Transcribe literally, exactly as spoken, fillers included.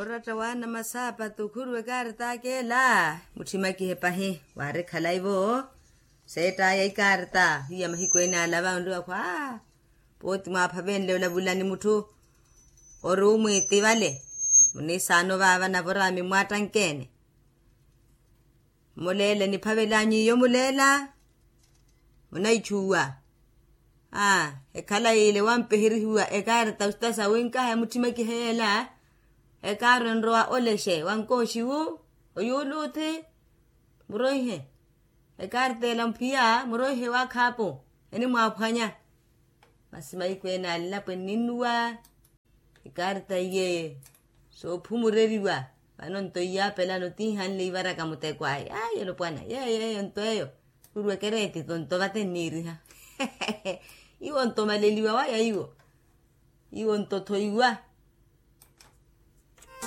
Oratta waana masaapatu khuru ekaarita ak'ela. Mutthimakihe pahi waari khalai-vo. Seett'aya ikaarita hiya mahiku ene alava onriwa khwa. Pooti mwaaphavenle olavulani mutthu ori umwiiti vale. Muniisaano vaava navo oraami mmwaattankeene. Muleele niphavel'anyu iyo muleela. Munaichuwa. Aa, ekhala yiile wampihirihiwa ekaarita ustasa winkaha emutthimaki heela. Ekaarita enrowa olexe wankooxiwu oyuuluuthi. Muroihe ekaarita ela mphiya muroihe waakhaapu. Enimwaaphwanya. Masi mahiku ene alilapo enninnuwa. Ikaarita iye soophumureriwa. Vano nto iyaapelano tiihanle ivaraka muteko aya ayi olopwana yeyo eyo nto eyo. Khuru ekereeti to nto vate nniiriha. Iwo nto omaleliwa waya iwo. Iwo nto tho iwa.